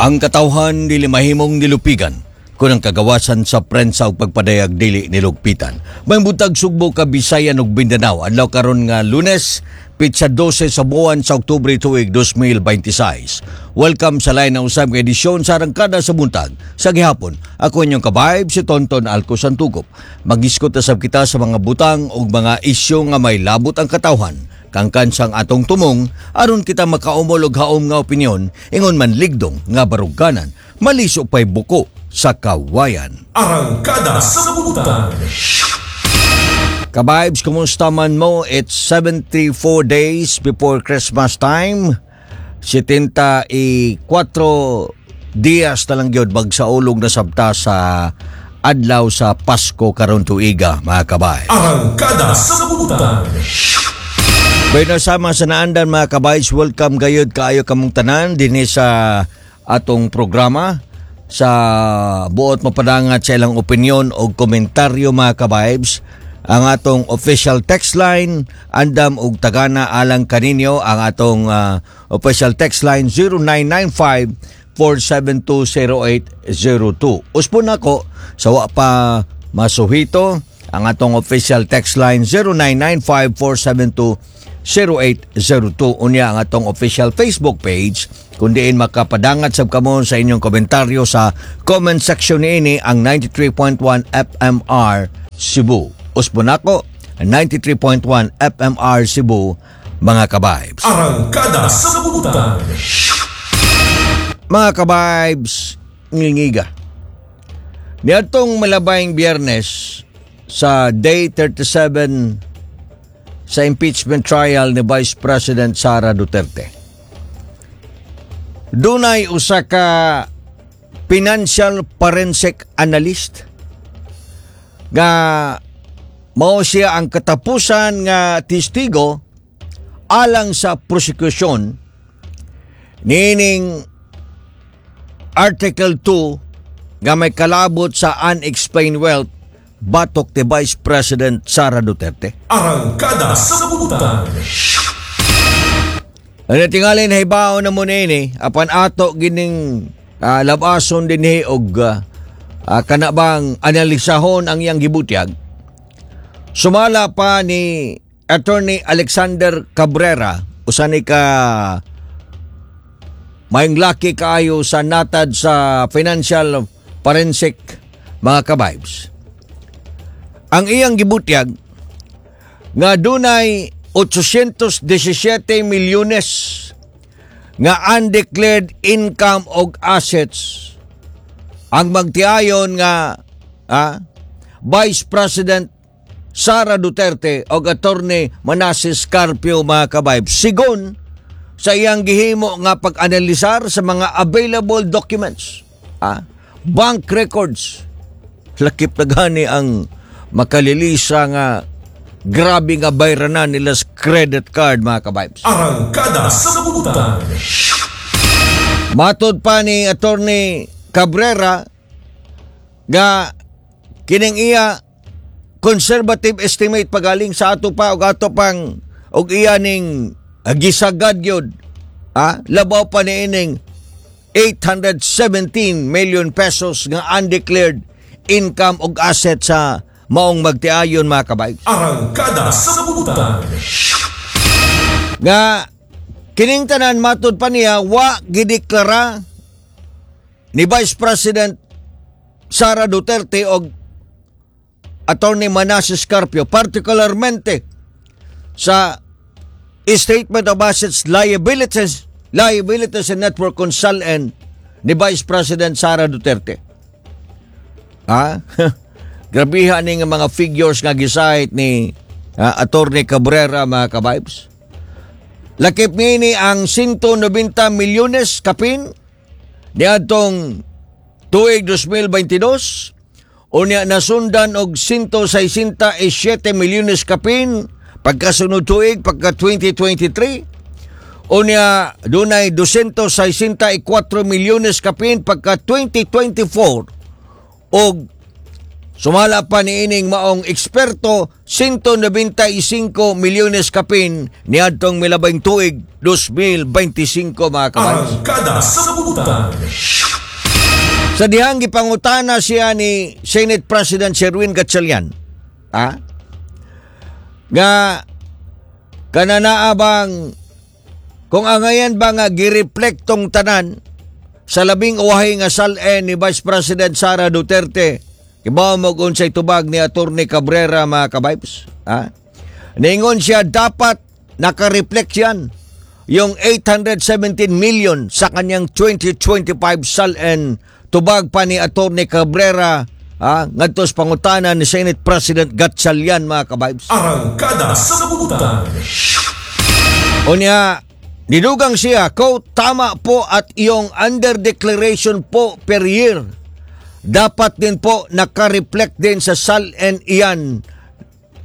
Ang katawhan dili mahimong nilupigan kung ang kagawasan sa prensa ug pagpadayag dili nilugpitan. May buntag, Sugbo, Kabisayan ug Mindanao. Adlaw karon nga Lunes, pitsa 12 sa buwan sa Oktubre, tuig 2026. Welcome sa lain na usab nga edisyon sa Arangkada sa Buntag. Sa gihapon, ako inyong ka-vibe, si Tonton Alco Santugop. Mag-iskot na sab kita sa mga butang ug mga isyu nga may labot ang katawhan kangkan sang atong tumong aron kita makaumol og haom nga opinyon, ingon man ligdong nga baruganan, maliso pay buko sa kawayan. Arangkada sa Buntag. Ka-vibes, kumusta man mo? It's 74 days before Christmas time. 74 dias na lang gyud, magsaulog na sabta sa adlaw sa Pasko karon tuiga, mga ka-vibes. Arangkada sa Buntag. Bueno, sama sa naandan, mga ka-vibes, welcome gayud kaayo kamong tanan dinhi sa atong programa sa buot mapadangat sa ilang opinyon o komentaryo, mga ka-vibes. Ang atong official text line andam og tagana alang kaninyo, ang atong official text line 0995 4720802. Usbon nako sa wa pa masuhito ang atong official text line 0995 472 0802. Unya ang atong official Facebook page kung diin makapadangat sab kamo sa inyong komentaryo sa comment section niini, ang 93.1 FMR Cebu. Usbon nako, 93.1 FMR Cebu, mga ka-vibes. Arangkada sa Buntag. Mga ka-vibes, ngingiga. Niadtong malabayng Biyernes sa day 37 sa impeachment trial ni Vice President Sara Duterte, dunay usa ka financial forensic analyst nga mao siya ang katapusan nga testigo alang sa prosekusyon niining Article 2 nga may kalabot sa unexplained wealth batok ni Vice President Sara Duterte. Arangkada sa Buntag. Ano tingalin hibaw na mo niini apan ato gining labason dinhi og kana bang analisahon ang iyang gibutyag. Sumala pa ni Attorney Alexander Cabrera, usa ni ka maayong laki kaayo sa natad sa financial forensic, mga ka-vibes. Ang iyang gibutyag nga dunay 817 milyones nga undeclared income og assets ang magtiayon nga Vice President Sara Duterte og Attorney Manases Carpio, mga ka-vibes, sigon sa iyang gihimo nga pag-analisar sa mga available documents, bank records. Lakip na gani ang makalilisa nga grabe nga bayranan nila sa credit card, mga ka-vibes. Arangkada sa Buntag. Matod pa ni Attorney Cabrera nga kining iya conservative estimate pagaling sa ato pa og ato pang og iya ning gisagad gyud, labaw pa ni ining 817 million pesos nga undeclared income og asset sa maong magtiayon, mga ka-vibes. Arangkada sa Buntag. Nga kining tanan, matud pa niya, wa gideklara ni Vice President Sara Duterte og Attorney Manases Carpio, particularmente sa Statement of Assets, Liabilities and Net Worth kung SALN ni Vice President Sara Duterte. Ha? Grabihan ni nga mga figures nga gisayt ni Attorney Cabrera, mga ka-vibes. Lakip niini ang 190 milyones kapin niadtong tuig 2022, unya nasundan og 167 milyones kapin pagkasunod tuig, pagka 2023. Unya dunay 264 milyones kapin pagka 2024 og sumala pa ni ining maong eksperto, 195 milyones kapin niadtong milabang tuig 2025, mga ka-vibes. Arangkada sa Buntag. Sa dihang gipangutana siya ni Senate President Sherwin Gatchalian, nga kananaa bang kung angayan ba nga gireflect tong tanan sa labing uwahi nga SALN ni Vice President Sara Duterte, kibaw mo kung unsay tubag ni Attorney Cabrera, mga kabibes, ha? Ningon siya, dapat nakareflect yan yung 817 million sa kanyang 2025 SALN, tubag pa ni Attorney Cabrera, ngadto sa pangutana ni Senate President Gatchalian, mga kabibes. Arangkada sa Butan. Unya, nidugang siya, quote, "Tama po at yung under declaration po per year, dapat din po nakareflect din sa SALN iyan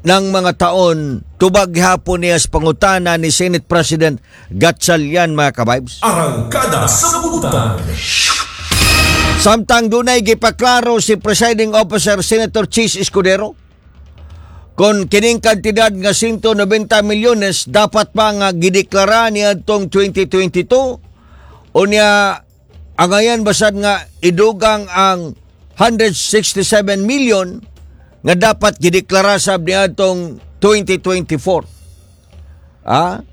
ng mga taon," tubag hapon niya sa pangutana ni Senate President Gatchalian, mga kabibes. Arangkada sa Butan. Samtang dunay gipaklaro si Presiding Officer Senator Chiz Escudero kung kining kantidad nga 190 milyones dapat pa nga gideklara niya atong 2022, unya angayan basad nga idugang ang 167 million nga dapat gideklara sab niya atong 2024. Ah?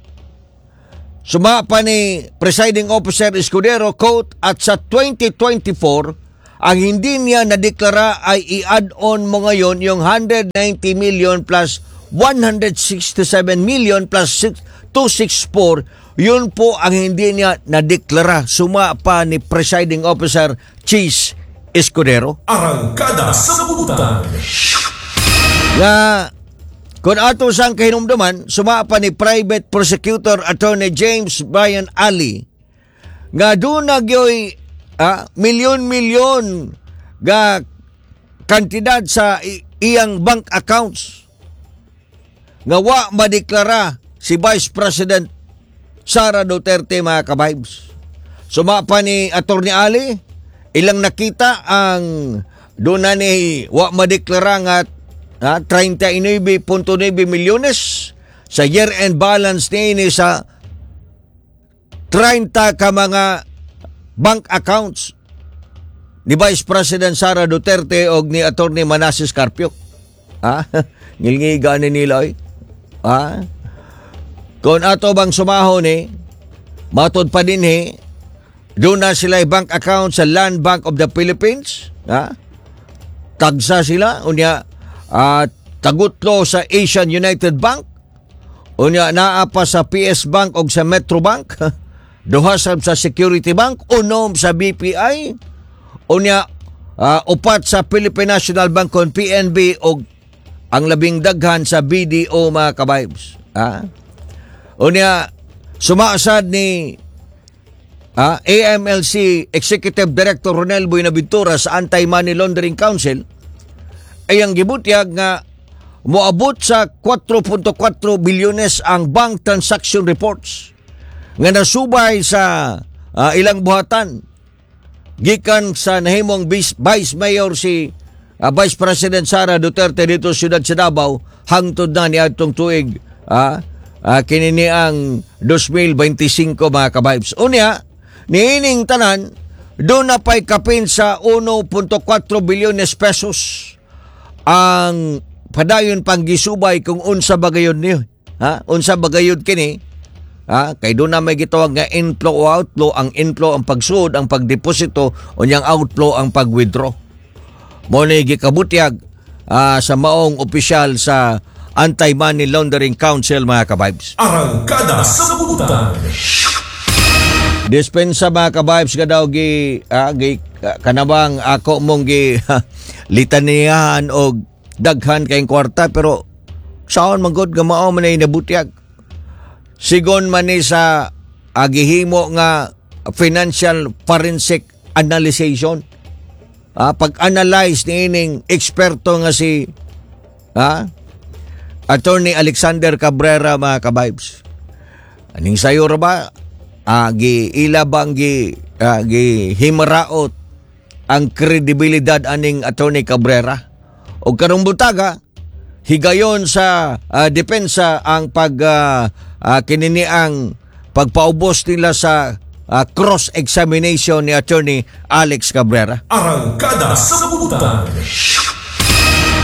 Suma pa ni Presiding Officer Escudero, quote, "At sa 2024, ang hindi niya nadeklara ay i-add on mo ngayon yung 190 million plus 167 million plus 6, 264, yun po ang hindi niya nadeklara," suma pa ni Presiding Officer Chiz Escudero. Arangkada sa Butan. Nga kung ato sang kahinumduman, suma pa ni private prosecutor Attorney James Brian Ali nga doon na gyoy milyon-milyon nga kantidad sa iyang bank accounts nga wa madeklara si Vice President Sara Duterte, mga kabibes. Suma pa ni Attorney Ali, ilang nakita ang doon na ni wa madeklara nga 39.9 milyones sa year-end balance niini sa 30 ka mga bank accounts ni Vice President Sara Duterte og ni Attorney Manases Carpio. Ha? Ngilngiga ni nila oy. Ha? Kung ato bang sumahon ni, matod pa din he, doon na sila bank account sa Land Bank of the Philippines. Ha? Tagsa sila. Unya, tagutlo sa Asian United Bank. Unya, naa pa sa PS Bank o sa Metro Bank. Duha sab sa Security Bank. 6 sa BPI. Unya, 4 sa Philippine National Bank kon PNB o ang labing daghan sa BDO, mga kabibes. Ha? Unya, sumaasad ni AMLC Executive Director Ronel Buenaventura sa Anti-Money Laundering Council ay ang gibutyag nga moabot sa 4.4 bilyones ang bank transaction reports nga nasubay sa ilang buhatan gikan sa nahimong Vice Mayor si Vice President Sara Duterte dito sa siyudad sa Davao hangtod na niadtong tuig kini ang 2025, mga kabibes. Unya, niining tanan doon na pa'y kapin sa 1.4 bilyones pesos ang padayon pang gisubay kung unsa ba gayud niyo. Ha? Unsa ba gayud kini? Ha? Kay doon na may gitawag nga inflow o outflow. Ang inflow ang pagsuod, ang pagdeposito, unyang outflow ang pag-withdraw. Mo ni gikabutyag sa maong opisyal sa Anti-Money Laundering Council, mga kabibes. Arangkada sa Butan. Dispensa, mga kabibes, ka daw gi kanabang ako mong gi litaniyahan og daghan kayong kwarta, pero saan man gud nga mao man ay nabutyag. Sigon man ni sa agihimo nga financial forensic analyzation. Pag-analyze ni ining eksperto nga si Attorney Alexander Cabrera, mga kabibes. Aning sayo ra ba? Gi ila bang gi himaraot ang kredibilidad aning Attorney Cabrera? O karong butaga, higayon sa depensa ang pag kinini ang pagpaubos nila sa cross-examination ni Attorney Alex Cabrera. Arangkada sa Butan.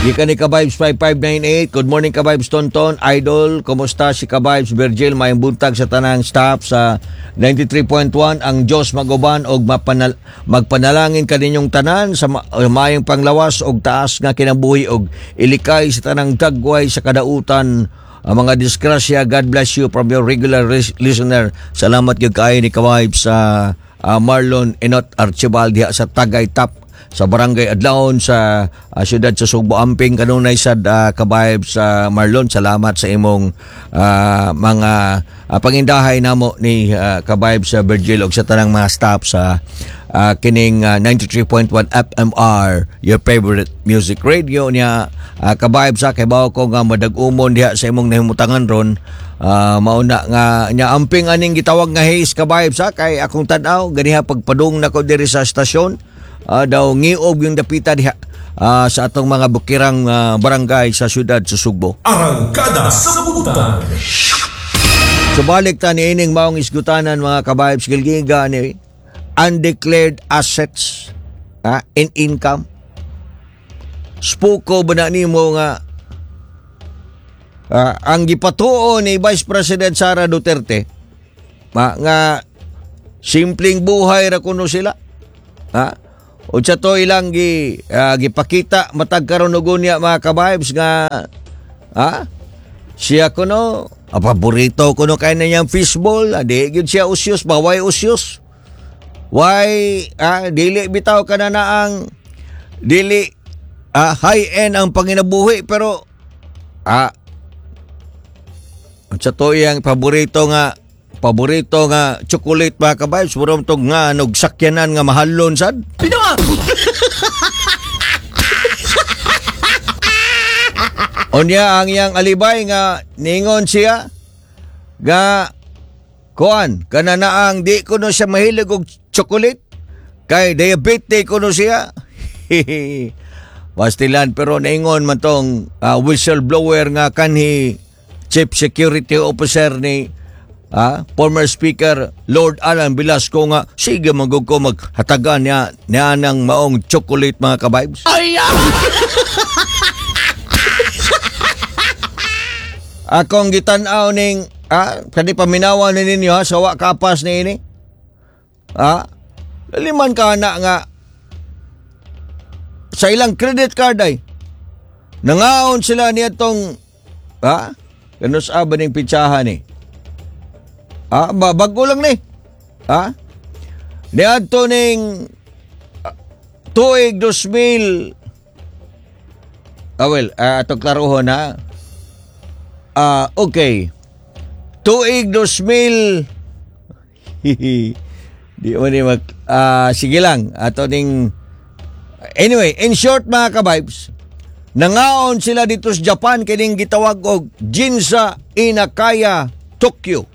Gikan ni Kabibes 5598. Good morning, Kabibes Tonton. Idol, kumusta si Kabibes Virgil? Maayong buntag sa tanang staff sa 93.1. Ang Diyos maguban og magpanalangin kaninyong tanan sa maayong panglawas og taas nga kinabuhi og ilikay sa tanang dagway sa kadautan ang mga disgrasya. God bless you from your regular listener. Salamat gyud kaayo ni Kabibes sa Marlon Enot Archibald diha sa Tagay Top sa Barangay Adlaon sa siyudad sa Sugbo. Amping kanunay sad, kabayb sa Marlon. Salamat sa imong mga pangindahay namo ni kabayb sa Virgil ug sa tanang mga staff sa kining 93.1 FMR, your favorite music radio niya. Kabayb sa kay bawo ko nga madag-umon diha sa imong nahimutangan ron. Mauna nga nya amping aning gitawag nga haze, kabayb sa kay akong tan-aw ganiha pagpadung nako diri sa estasyon, daw ngiob yung dapita diha sa atong mga bukirang barangay sa syudad sa Sugbo. Arangkada sa Butan. Subalik ta ni ining maong isgutanan, mga kabayb, gilgiga ni undeclared assets and income. Spuko ba na nimo nga ang gipatuo ni Vice President Sara Duterte nga simpleng buhay ra kuno sila? Ha? O sa to ilang gipakita matag karon ug unya, mga kabibes, nga siya kuno paborito kuno kay na niyang fishball, di gyud siya usyos ba, why usyos, why dili bitaw kana na ang dili high end ang panginabuhi, pero sa to iyang paborito nga chocolate, mga kabibes, murong tog nga nog sakyanan nga mahalon sad. Pinoa! Unya ang iyang alibay nga ningon siya nga kuan kana na ang di kuno siya mahilig og chocolate kay diabetic kuno siya. Pastilan, pero naingon man tong whistleblower nga kanhi chief security officer ni former Speaker Lord Alan Velasco nga sige magug ko maghatagan niya niya ng maong chocolate, mga kabibes. Ay! Akong gitan-aw ning kani paminawa ni ninyo ha, sa wa kapas ni ini. Liman ka na nga sa ilang credit card ay nangaon sila niya tong kanus ba ning pitsahan ni? Bago lang ni. Niadto ning tuig 2000. Well, atong klarohon ha. Okay. Tuig 2000. Di mo ni mag sige lang ato ning. Anyway, in short, mga kabibes, nangaon sila dito sa Japan kining gitawag og Ginza Inakaya, Tokyo.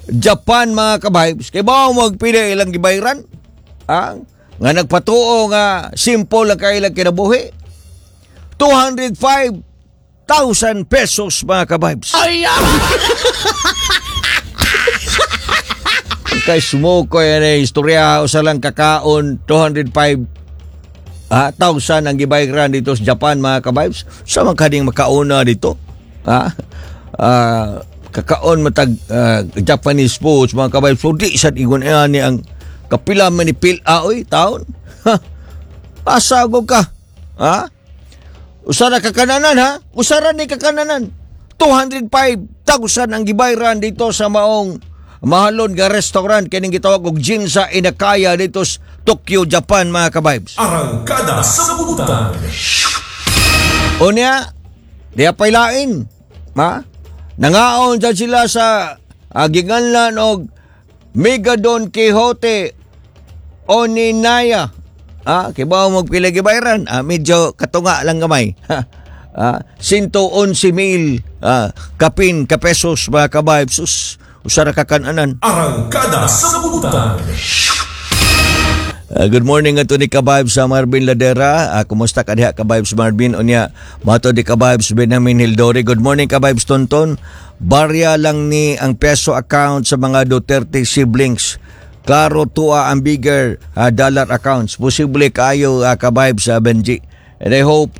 Japan, mga kabibes, kay ba magpila ilang gibayran? Nga nagpatuo nga simple lang kay ilang kinabuhi. 205,000 pesos, mga kabibes. Ay! Kay smoke ko yan eh, istorya usa lang kakaon 205 thousand ang gibayran dito sa Japan, mga kabibes. Sa man kaning makauna dito? Kakaon matag Japanese foods, mga kabibes. So di sad ingon ani ang kapila man ni pil oy taon. Ha? Pasagog ka. Ha? Usara kakananan ha? Usara ni kakananan. 205,000 ang gibayran dito sa maong mahalon nga restaurant kining gitawag og Ginza Inakaya dito sa Tokyo, Japan, mga kabibes. Arangkada sa Butan. Unya, diya pailain. Ma? Nangaon dyan sila sa giganlan og Mega Don Quixote Oninaya. Kibaw magpila gibayran. Medyo katunga lang gamay. 111 mil kapin kapesos, mga kabibes. Sus, usara kakananan. Arangkada sa Butan. Good morning ato ni Kabibes sa Marvin Ladera. Kumusta ka diha, Kabibes Marvin? Unya, mato di Kabibes Benjamin Hildori. Good morning, Kabibes Tonton. Barya lang ni ang peso account sa mga Duterte siblings. Klaro tuwa ang bigger dollar accounts. Posible kaayo, ka-vibe sa Benji. And I hope,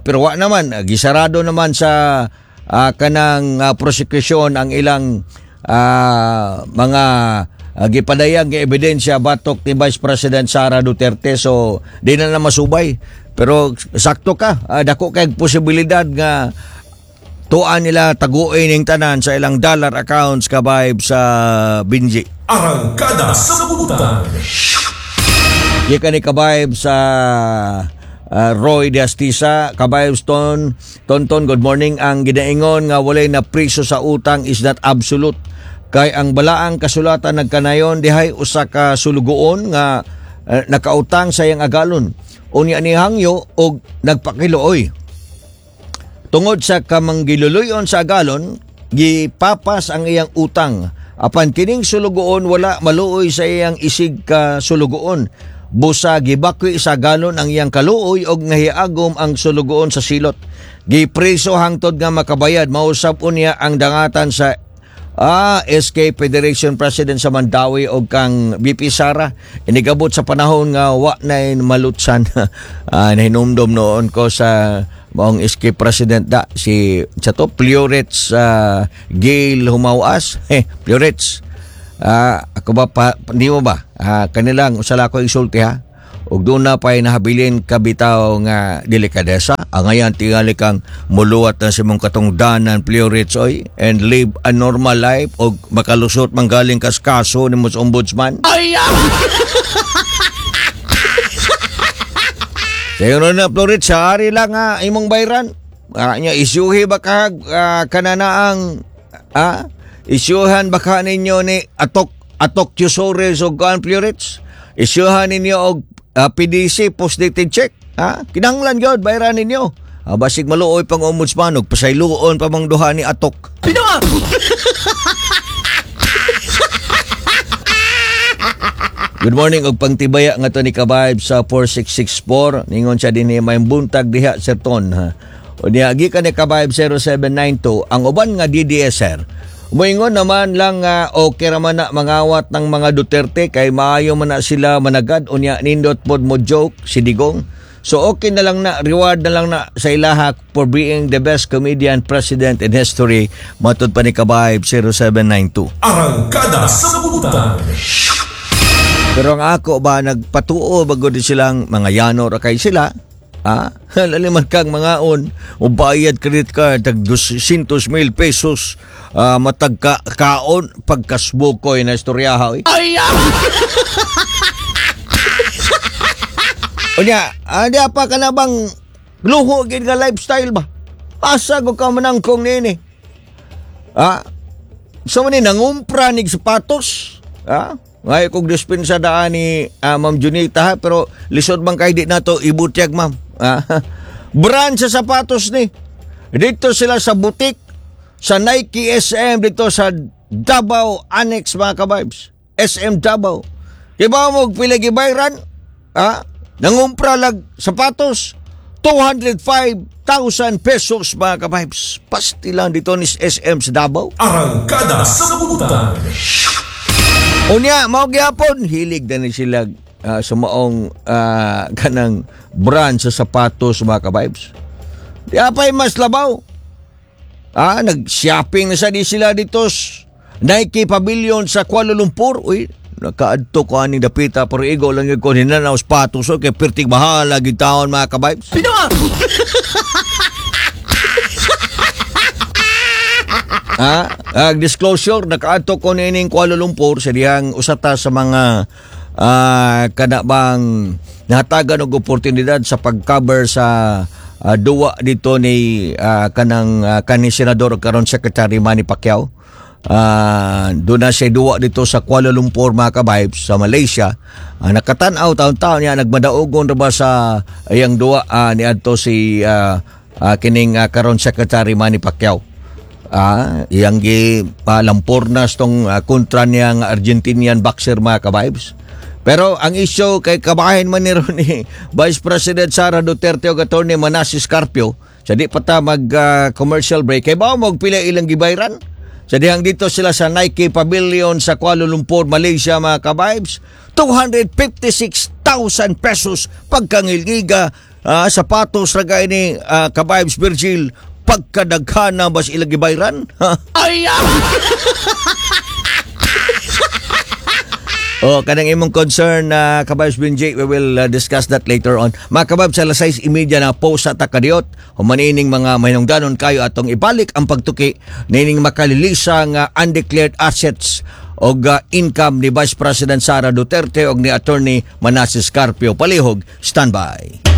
pero wa naman, gisarado naman sa kanang prosecution ang ilang mga gipadayag nga ebidensya batok ni Vice President Sara Duterte, so di na na masubay. Pero sakto ka, dako kay posibilidad nga tuan nila taguin ning tanan sa ilang dollar accounts, ka-vibe sa Benji. Arangkada sa Butan. Gikan ni ka-vibe sa Roy de Astisa, ka-vibe Stone, Tonton, good morning. Ang ginaingon nga walay na priso sa utang is not absolute. Kay ang balaang kasulatan nagkanayon dihay usa ka sulugoon nga nakautang sa iyang agalon. Unya ni hangyo og nagpakiluoy. Tungod sa kamanggiluluyon sa agalon, gipapas ang iyang utang. Apan kining sulugoon wala maluoy sa iyang isig ka sulugoon. Busa gibakwi sa agalon ang iyang kaluoy og nahiagom ang sulugoon sa silot. Gipreso hangtod nga makabayad. Mausap unya ang dangatan sa SK Federation President sa Mandaue og kang VP Sara inigabot sa panahon nga wa na malutsan. Nahinumdom noon ko sa maong SK President da si sa to Plurits Gail Humawas. Eh, Plurits, ako ba pa, di mo ba kanilang usala ko isulti ha, ug doon na pa'y nahabilin kabitaw nga delikadesa. Ang ngayon, tingali kang muluwat na sa mong katungdanan, Plurits, oy, and live a normal life og makalusot manggaling kas kaso ni mo sa ombudsman. Ay! Sayo na, Plurits, sa ari lang nga imong bayran. Nya, isyuhi ba ka kananaang isyuhan ba ka ninyo ni Atok Atok Yusores og kuan, Plurits? Isyuhan ninyo og PDC, post-dated check. Ha? Kinahanglan gyud bayran ninyo. Basig maluoy pang ombudsman og pasayloon pa mang duha ni Atok. Good morning og pangtibaya nga to ni ka-vibe sa 4664. Ningon siya dinhi, may buntag diha, Sir Ton. Ha. O niya gikan ni ka-vibe 0792, ang uban nga DDSR. Moingon naman lang nga okay ra man na mangawat ng mga Duterte kay maayo man na sila managad, unya nindot pod mo joke si Digong. So okay na lang na, reward na lang na sa ilaha for being the best comedian president in history, matud pa ni ka-vibe 0792. Arangkada sa Butan. Pero ang ako ba, nagpatuo bago din silang mga yano ra kay sila. Ha? Laliman kang mga on o bayad credit card tag 200 mil pesos, matag ka, kaon pagkasbukoy na istoryaha oy. Ay! Unya, di pa ka na bang luho gid nga lifestyle ba? Asa ko ka manangkong nini? Ha? So man ni nangumpra nig sapatos? Ha? Ngay kog dispensa daan ni Ma'am Junita ha, pero lisod man kay di nato ibutyag, ma'am. Ha? Brand sa sapatos ni. Dito sila sa boutique sa Nike SM dito sa Davao Annex, mga ka-vibes. SM Davao. Kibaw mo pila gibayran? Ha? Nangumpra lag sapatos 205,000 pesos, mga ka-vibes. Pasti lang dito ni SM sa Davao. Arangkada sa Butan. Unya, mao gyapon hilig na ni sila sa maong kanang brand sa sapatos, mga ka-vibes. Di apay mas labaw. Nag-shopping na sa di sila dito Nike Pavilion sa Kuala Lumpur. Uy, nakaadto ko aning dapita pero igo lang yun ko hinanaw sapatos, kay pertig bahala gid taon, mga ka-vibes. Pino! Disclosure, nakaadto ko niining Kuala Lumpur sa dihang usata sa mga kana bang nahatagan og oportunidad sa pag-cover sa duwa dito ni kanang kani senador karon Secretary Manny Pacquiao. Doon na siya duwa dito sa Kuala Lumpur, mga ka-vibes, sa Malaysia. Nakatan-aw taon-taon niya nagmadaogon ra ba sa iyang duwa niadto si kining karon Secretary Manny Pacquiao. Iyang gi lampornas tong kontra niya nga Argentinian boxer, mga ka-vibes. Pero ang issue kay kabahin man ni ron ni Vice President Sara Duterte og Attorney Manasis Carpio. Sa di pa ta mag commercial break, kay ba mo pila ilang gibayran? Sa dihang dito sila sa Nike Pavilion sa Kuala Lumpur, Malaysia, mga ka-vibes, 256,000 pesos pagkangilgiga, sapatos ra ni, ka-vibes Virgil, pagkadaghana bas ilang gibayran. Ay! Oh, kanang imong concern na, ka-vibes Benji, we will discuss that later on. Mga ka-vibes, sa alas 6:30 na post sa Takadiot, humanining mga mahinungdanon kayo atong ibalik ang pagtuki nining makalilisa nga undeclared assets og income ni Vice President Sara Duterte og ni Attorney Manases Carpio. Palihog, standby.